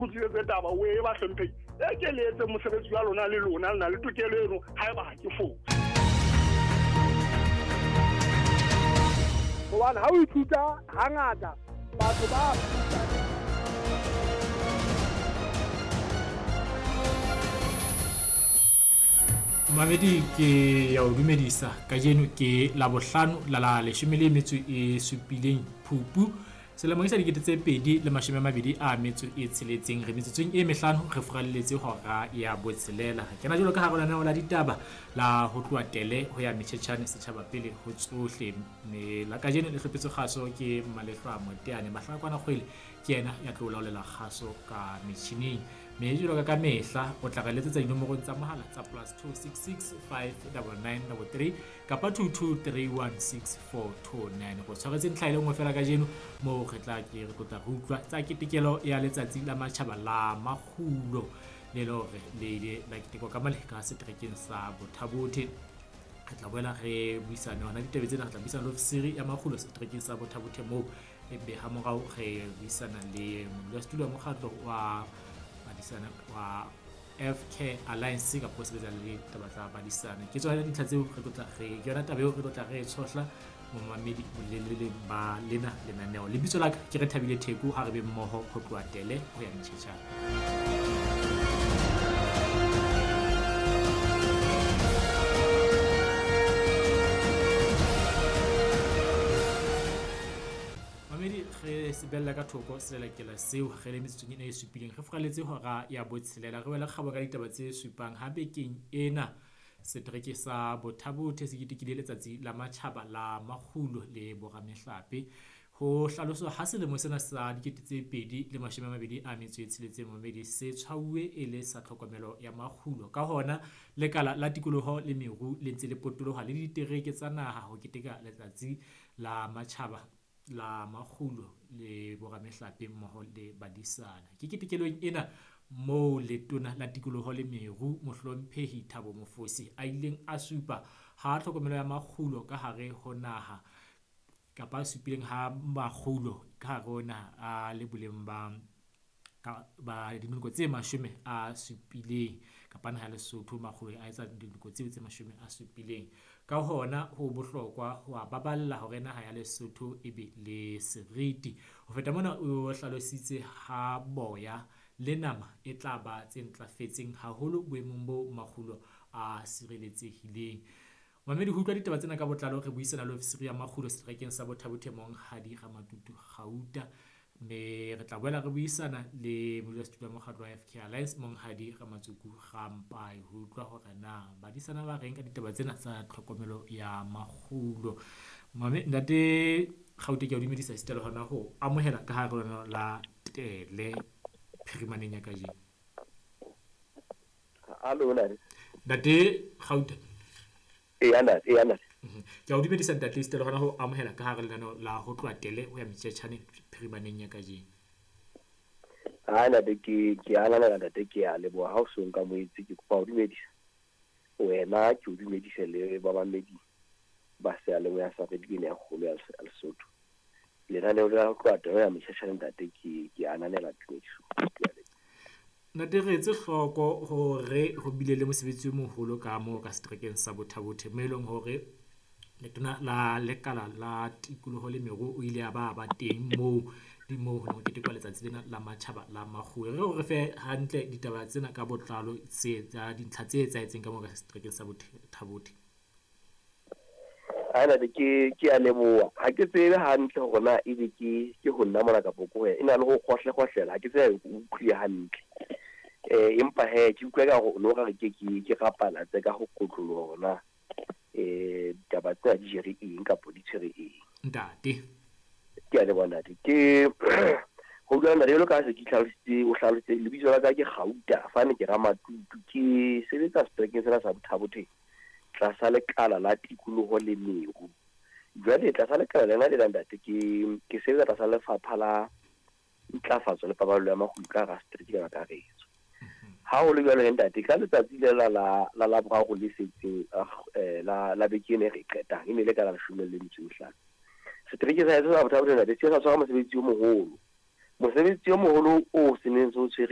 Kgutlisetse taba o e bahlomphehi e ke le etse mosebetsi wa lona le lona le na le tokelo eno haeba ha ke fose. Hobane ha o ithuta hangata batho ba Mamedi ke ya o dumedisa kajeno ke Labohlano la la leshome le metso e supileng Phupu selemong sa 2026. Re metsotsong e mehlano re furalletse hora ya botshelela. Re kena jwalo ka hara lenaneo la ditaba la ho tloha tele ho ya metjhetjhane setjhaba pele ho tsohle. Mme la kajeno le hlophetswe kgaso ke Malehlwa Moteane. Mahlakwana Kgwele ke yena ya tlo laolela kgaso ka metjhining. Mme jwalo ka mehla o tla re letsetsa dinomorong tsa mohala tsa +266 599 33 kapa 22316429. Go tshwaretse ntlha e le nngwe fela kajeno moo re tla ke re tlotla re utlwa tsa ketekelo ya letsatsi la matjhaba la makgulo le le hore le ile la ketekwa ka male ka seterekeng sa Bothabothe. Re tla boela re buisane hona ditaba tsena, re tla buisana le ofisiri ya makgulo seterekeng sa Bothabothe moo, ebe ha morao re buisana le modulasetulo wa mokgatlo wa badisana wa FK Alliance kapa o sebetsa le taba tsa badisana. Ke tsona dintlha tseo re tlotla re ke yona taba eo re tlotla re tshohla momamedi bolelele ba lena lenaneo. Lebitso la ka ke re Thabile Theko, ha re be mmoho ho tloha tele ho ya metjhetjhane. Mamedi re sebella ka thoko selelekela seo re le metsotsong ena e supileng. Re furaletse hora ya botshelela, re wela kgabo ka ditaba tse supang. Ha bekeng ena setereke sa Bothabothe se ketekile letsatsi la matjhaba la makgulo le boramehlape. Ho hlaloswa ha selemo sena sa 2026 momedi se tshwauwe e le sa tlhokomelo ya makgulo. Ka hona lekala la tikoloho le meru le ntse le potoloha le ditereke tsa naha ho keteka letsatsi la matjhaba la makgulo le boramehlape mmoho le badisana. Ke ketekelong ena moo letona la tikoloho le meru mohlomphehi Thabo Mofosi a ileng a supa ha tlhokomelo ya makgulo ka hare ho naha kapa a supileng ha makgulo ka hare ho naha a le boleng ba ba dinoko tse 70 kapa naha ya Lesotho makgulo a etsa dinoko tseo tse 70. Ka hona ho bohlokwa ho a baballa hore naha ya Lesotho e be le seriti. Ho feta mona o hlalositse ha boya le nama e tla ba tse ntlafetseng haholo boemong bo makgulo a sireletsehileng. Mamedi ho utlwa ditaba tsena ka botlalo re buisana le ofisiri ya makgulo seterekeng sa Bothabothe Monghadi Ramatutu Gauta. Mme re tla boela re buisana le modulasetulo wa mokgatlo wa FK Alliance Monghadi Ramatsuku Rampai ho utlwa hore na badisana ba reng ka ditaba tsena tsa tlhokomelo ya makgulo. Mame ntate Gauta ke a o dumedisa esita le hona ho amohela ka hare ho la tele phirimaneng ya kajeno. Hallo ntate. Ntate Gauta. Eya ntate, eya ntate. Ke a o dumedisa ntate esita le hona ho amohela ka hare lenaneo la ho tloha tele ho ya metjhetjhane phirimaneng ya kajeno. Ha ntate ke ananela ntate, ke a leboha ha o so nka moetse. Ke kopa ho dumedisa wena, ke o dumedise le bamamedi ba seyalemoya sa radio ena ya kgolo ya Lesotho. Lenaneo la ho tloha tele ho ya metjhetjhane ntate, ke ananela tumediso. Ntate re etse hloko hore ho bile le mosebetsi o moholo ka moo ka seterekeng sa Bothabothe mo e leng hore letona la lekala la tikoloho le meru o ile a ba ba teng moo di moo ho ne ho ketekwa letsatsi lena la matjhaba la makgulo. Re re fe hantle ditaba tsena ka botlalo tse tsa dintlha tse etsahetseng ka moo ka seterekeng sa Bothabothe. Ha ntate ke a leboha. Ha ke tsebe hantle hore na ebe ke ho nna mona kapa ko wena. E na le ho kgohle-kgohlela, ha ke tsebe o utlwile hantle. Empa he ke utlwa ka hore o no re ke ke rapala tse ka ho kotloloha hore na ditaba tsena di jere eng kapa di tshwere eng. Ntate. Ke a leboha ntate. Ke ho bua ntate jwalo ka ha se ke tlhalositse, o hlalositse lebitso la ka ke Gauta, fane ke Ramatutu, ke sebetsa seterekeng sena sa Bothabothe tlasa lekala la tikoloho le meru. Jwale tlasa lekala lena lena ntate ke sebetsa tlasa lefapha la ntlafatso le paballo ya makgulo ka hara setereke ka kakaretso. Ha ho le jwalo ntate, ka letsatsi le la la Laboraro le setseng la beke ena e re qetang, e ne le ka la 15. Setereke sa heso sa Bothabothe ntate se sa tshwara mosebetsi o moholo. Mosebetsi o moholo o se neng se o tshwere